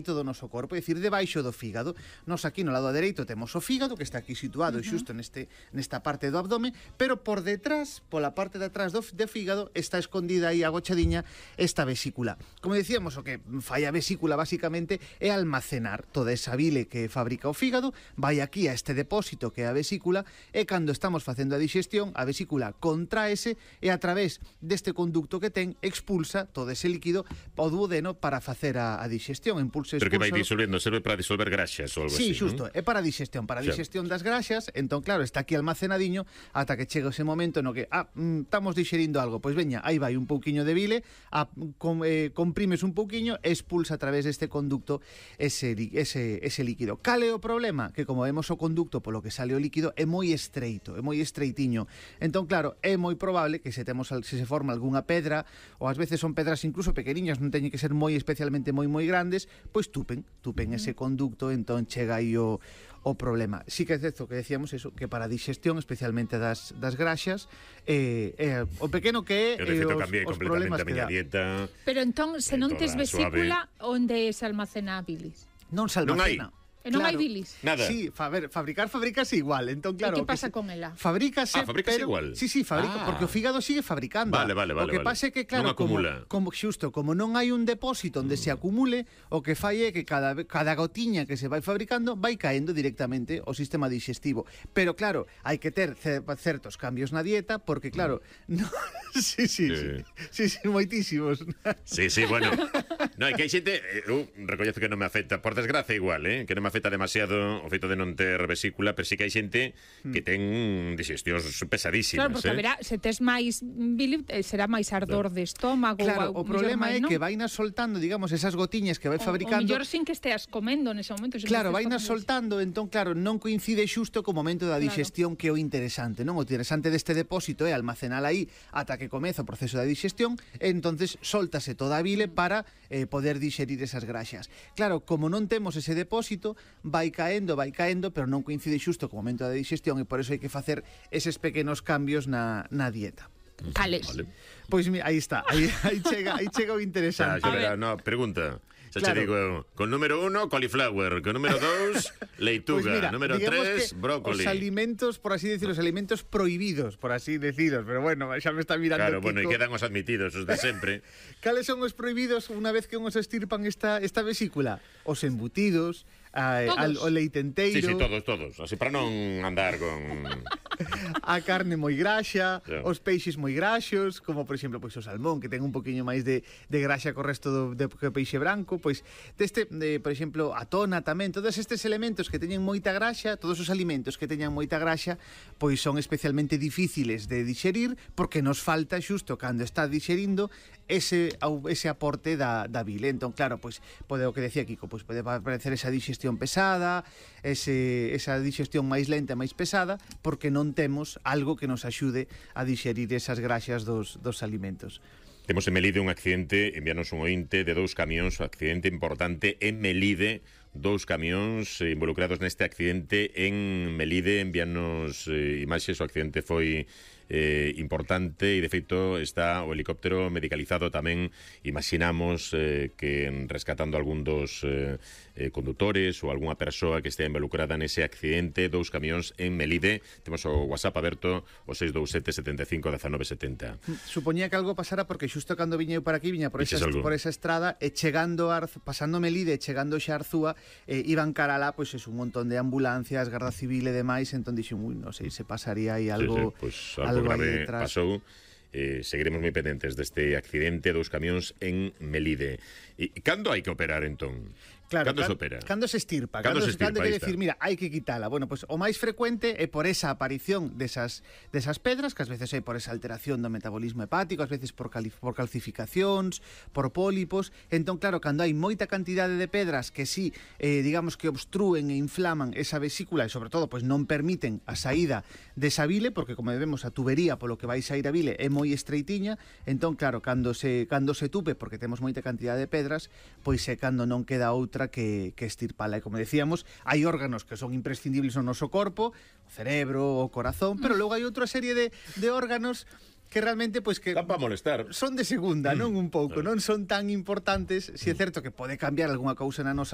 do noso corpo, é dicir, debaixo do fígado. Nos aquí no lado dereito temos o fígado, que está aquí situado xusto nesta parte do abdome, pero por detrás, pola parte de atrás do fígado, está escondida aí agochadiña esta vesícula. Como decíamos, o que fai a vesícula basicamente é almacenar toda esa bile que fabrica o fígado, vai aquí a este depósito que é a vesícula, e cando estamos facendo a digestión, a vesícula contraese e a través deste conducto que ten expulsa todo ese líquido ao duodeno para facer a digestión. Pero que vai disolvendo, serve para disolver graxas ou algo así, así, xusto, é para a digestión das graxas. Entón, claro, está aquí almacenadiño ata que chega ese momento no que estamos digerindo algo, pois veña, aí vai un pouquiño de bile, comprimes un pouquiño e expulsa a través deste conducto ese líquido. Cal é o problema? Que como vemos o conducto polo que sale o líquido é moi estreito, é moi estreitiño. Entón, claro, é moi probable que se se forma algunha pedra, ou ás veces son pedras incluso pequeniñas, non teñen que ser especialmente moi grandes, pois tupen ese conducto, entón chega aí o problema. Sí que é certo que decíamos eso, que para a digestión, especialmente das graxas, o pequeno que é os problemas que dá. Dieta. Pero entón, se non tes vesícula, onde se almacena a bilis? Non se almacena. E non hai bilis? Nada. Sí, fabricase igual. Entón, claro, e que pasa con ela? Fabrícase, pero igual. Sí, fabrica, porque o fígado sigue fabricando. Vale. O que pasa é que, claro, non acumula. como non hai un depósito onde se acumule, o que fai é que cada gotiña que se vai fabricando vai caendo directamente ao sistema digestivo. Pero, claro, hai que ter certos cambios na dieta, porque, claro, sí, moitísimos. Sí, bueno. No, é que hai xente, eu recoñezo que non me afecta, por desgracia igual, que non me afecta demasiado o feito de non ter vesícula, pero sí que hai xente que ten digestións pesadísimas. Claro, porque verá, se tes máis bile, será máis ardor de estómago. Claro, o problema é que vainas soltando, digamos, esas gotiñas que vai fabricando. O mellor sin que esteas comendo nese momento. Claro, vainas soltando, entón, claro, non coincide xusto co momento da digestión, que é o interesante, non? O interesante deste depósito é almacenar aí ata que comeza o proceso da digestión, e entonces soltase toda a bile para poder digerir esas graxas. Claro, como non temos ese depósito, vai caendo, pero non coincide xusto co momento da digestión, e por eso hai que facer eses pequenos cambios na dieta. Cales? Pois aí está, aí chega o interesante. Pregunta. Xa che digo, con número 1, cauliflower, con número 2, leituga, pues número 3, brócoli. Os alimentos, por así decirlo, os alimentos prohibidos, por así deciros, pero bueno, xa me está mirando. Claro, bueno, e quedan os admitidos, os de sempre. Cales son os prohibidos unha vez que uns estirpan esta vesícula? Os embutidos, o leite enteiro. Sí, todos, así para non andar con... A carne moi graxa, os peixes moi graxos, como por exemplo pois o salmón, que ten un poquinho máis de graxa co resto do peixe branco, pois por exemplo, a tona tamén, todos estes elementos que teñen moita graxa, todos os alimentos que teñan moita graxa, pois son especialmente difíciles de digerir, porque nos falta xusto cando está digerindo ese aporte da bile. Entón, claro, pois pode o que decía Kiko, pois pode aparecer esa digestión pesada, esa digestión máis lenta e máis pesada, porque non temos algo que nos axude a digerir esas graxas dos alimentos. Temos en Melide un accidente, envianos un ointe de 2 camións, un accidente importante en Melide, 2 camións involucrados neste accidente en Melide, envianos imaxes, o accidente foi importante e de feito está o helicóptero medicalizado tamén. Imaginamos que rescatando algún dos condutores ou algunha persoa que estea involucrada nese accidente. 2 camións en Melide. Temos o WhatsApp aberto, o 627 75 19 70. Supoñía que algo pasara porque xusto cando viña eu para aquí, viña por esa estrada, e chegando pasando Melide, chegando xa a Arzúa, iban cara lá, pois es un montón de ambulancias, Garda Civil e demais, entón dixen, non sei, se pasaría aí algo, algo grave pasou. Seguiremos moi pendentes deste accidente, 2 camións en Melide. E cando hai que operar, entón? Claro, cando se opera? Cando se estirpa, cando quere decir, mira, hai que quitala. Bueno, pues o máis frecuente é por esa aparición desas pedras, que ás veces é por esa alteración do metabolismo hepático, ás veces por calcificacións, por pólipos. Entón, claro, cando hai moita cantidade de pedras que sí, digamos que obstrúen e inflaman esa vesícula e, sobre todo, pues non permiten a saída desa bile, porque, como vemos, a tubería polo que vai sair a bile é moi estreitiña. Entón, claro, cando se tupe, porque temos moita cantidade de pedras, pois é cando non queda outra que estirpala. E como decíamos, hai órganos que son imprescindibles no noso corpo, o cerebro, o corazón, pero logo hai outra serie de órganos que realmente pois que Están para molestar. son de segunda, non un pouco, non son tan importantes, si é certo que pode cambiar algunha cousa na nosa